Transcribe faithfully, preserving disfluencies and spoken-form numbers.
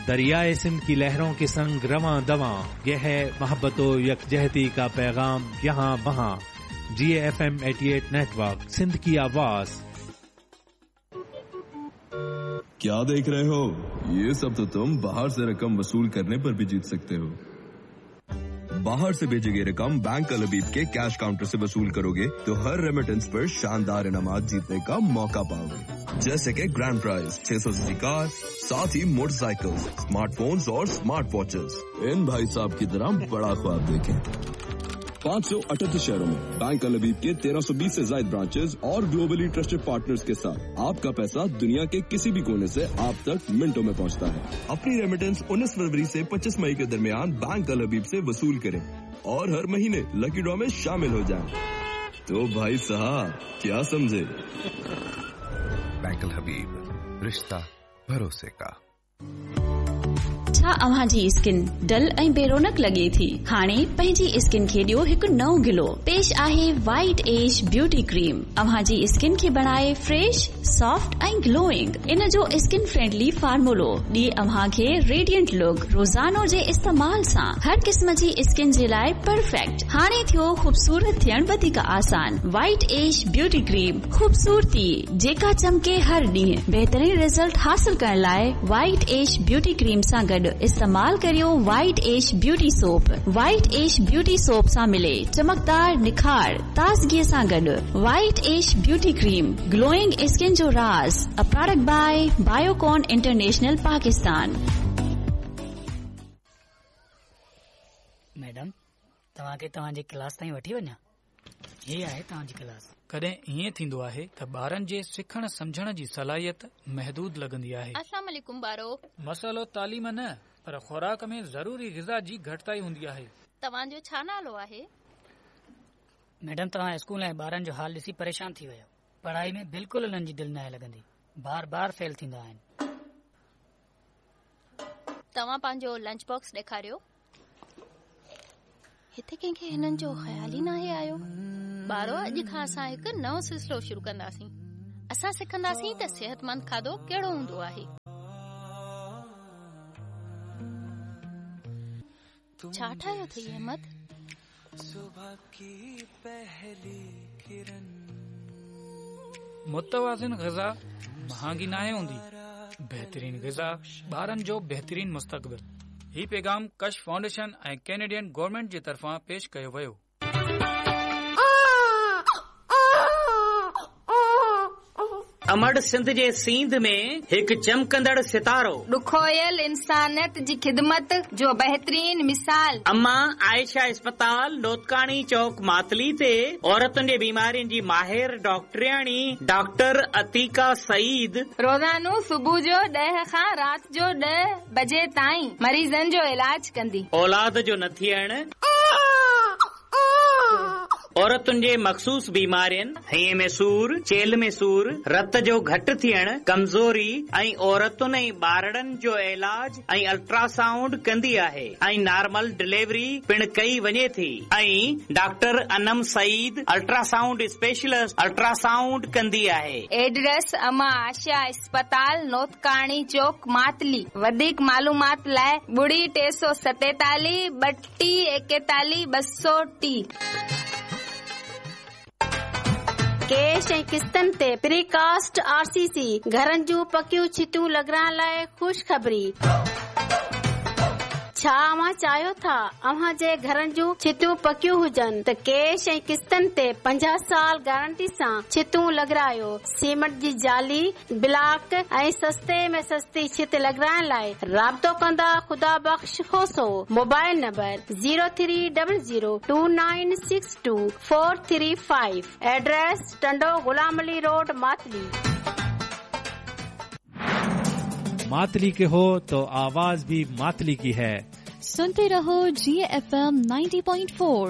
दरियाए सिंध की लहरों के संग रवां दवां, यह है मोहब्बत व यकजहती का पैगाम यहाँ वहाँ। G F M अठासी नेटवर्क, सिंध की आवाज। क्या देख रहे हो? ये सब तो तुम बाहर से रकम वसूल करने पर भी जीत सकते हो। बाहर से भेजी गई रकम बैंक अल हबीब के कैश काउंटर से वसूल करोगे तो हर रेमिटेंस पर शानदार इनामात जीतने का मौका पाओगे, जैसे कि ग्रैंड प्राइज छह सौ सीसी कार, साथ ही मोटरसाइकिल, स्मार्टफोन्स और स्मार्ट वॉचेस। इन भाई साहब की तरह बड़ा ख्वाब देखें। पाँच सौ अठहत्तर शहरों में बैंक अल हबीब के तेरह सौ बीस से ज्यादा ब्रांचेस और ग्लोबली ट्रस्टेड पार्टनर्स के साथ आपका पैसा दुनिया के किसी भी कोने से आप तक मिनटों में पहुंचता है। अपनी रेमिटेंस उन्नीस फरवरी से पच्चीस मई के दरमियान बैंक अल हबीब से वसूल करें और हर महीने लकी ड्रॉ में शामिल हो जाएं। तो भाई साहब क्या समझे? बैंक अल हबीब, रिश्ता भरोसे का। छा अव्हां जी स्किन डल ऐं बेरोनक लॻे थी? हाणे पंहिंजी स्किन खे ॾियो हिकु नओं गिलो। पेश आहे वाइट एश ब्यूटी क्रीम। अव्हां जी स्किन खे बणाए फ्रेश, सॉफ्ट ऐं ग्लोइंग। इन जो स्किन फ्रेंडली फार्मूलो ॾिए अव्हां खे रेडियंट लुक। रोज़ानो जे इस्तेमाल सां हर क़िस्म जी स्किन जे लाइ परफेक्ट। हाणे थियो ख़ूबसूरत थियण वधीक आसान। वाइट एश ब्यूटी क्रीम, ख़ूबसूरती जेका चमके हर ॾींहुं। बहितरीन रिज़ल्ट हासिल करण लाइ वाइट एश ब्यूटी क्रीम सां गॾु इस्तेमाल करियो white ash beauty soap. White ash beauty soap सां मिले चमकदार निखार ताज़गी सां गॾु। White ash beauty cream, glowing skin जो राज़। A product by Biocon international Pakistan. Madam, तव्हांखे तव्हांजी क्लास ताईं वठी वञा? हीअ आहे तव्हांजी क्लास। कॾहिं ईअं थींदो आहे त ॿारनि जे सिखण सम्झण जी सलाहियत महदूद लॻंदी आहे। अस्सलाम वालेकुम ॿारो। मसइलो तालीम न पर खुराक में ज़रूरी ग़िज़ा जी घटिताई हूंदी आहे। तव्हांजो छा नालो आहे? मैडम, तव्हां स्कूल ऐं ॿारनि जो हाल ॾिसी परेशान थी वियो। पढ़ाई में बिल्कुलु उन्हनि जी दिलि नाहे लॻंदी, बार बार फेल थींदा आहिनि। तव्हां पंहिंजो लंच बॉक्स ॾेखारियो। हिते कंहिंखे हिननि जो ख़्याल ई नाहे आयो। ॿारो, अॼु खां असां हिकु नओं सिलसिलो शुरू कंदासीं। असां सिखंदासीं त सिहतमंद खाधो कहिड़ो हूंदो आहे। छा ठाहियो अथई अहमद? मुतवाज़िन ग़िज़ा महांगी नाहे हूंदी। बहितरीन ग़िज़ा ॿारनि जो बहितरीन मुस्तक़बिल। ही पैगाम कश फाउंडेशन ऐं कैनेडियन गवर्नमेंट जे तरफ़ां पेश कयो वियो। अमड़ सिंध जे सींध में हिकु चमकंदड़ सितारो, ॾुखोयल इंसानियत जी ख़िदमत जो बहितरीन मिसाल। अम्मा आयशा अस्पताल नोतकाणी चौक मातली ते औरतुनि जे बीमारियुनि जी माहिर डॉक्टरियाणी डॉक्टर अतीका सईद रोज़ानो सुबुह जो ॾह खां राति जो ॾह बजे ताईं मरीज़नि जो इलाज कंदी। औलाद जो न थियण, औरतुनि जे मख़सूस बीमारियुनि, हईं में सूर, चेल में सूर, रत जो घटि थियण, कमज़ोरी ऐं औरतुनि ऐं ॿारड़नि जो इलाज ऐं अल्ट्रासाउंड कंदी आहे ऐं नॉर्मल डिलीवरी पिणु कई वञे थी। ऐं doctor Anam Saeed ultrasound specialist ultrasound कंदी आहे। एड्रेस अमा आशा अस्पताल नोतकाणी चौक मातली। वधीक मालूमात लाइ ॿुड़ी टे सौ सतेतालीह ॿटीह एकेतालीह ॿ सौ टी। कैश ऐं किस्तनि ते प्रीकास्ट आरसीसी घरनि जूं पकियूं छितियूं लॻाइण लाइ ख़ुशख़बरी। छा अव्हां चाहियो था अव्हां जे घरनि जूं छितियूं पकियूं हुजनि त कैश ऐं किस्तनि ते पंजाह साल गारंटी सां छितियूं लॻारायो। सीमेंट जी जाली, ब्लॉक ऐं सस्ते में सस्ती छित लॻाइण लाइ राब्तो कंदा Khuda Bakhsh Khoso. Mobile number zero three double zero two nine six two four three five. Address Tando Ghulam Ali road Matli. Matli के हो तो आवाज भी मातली की है। सुनते रहो जी F M ninety point four.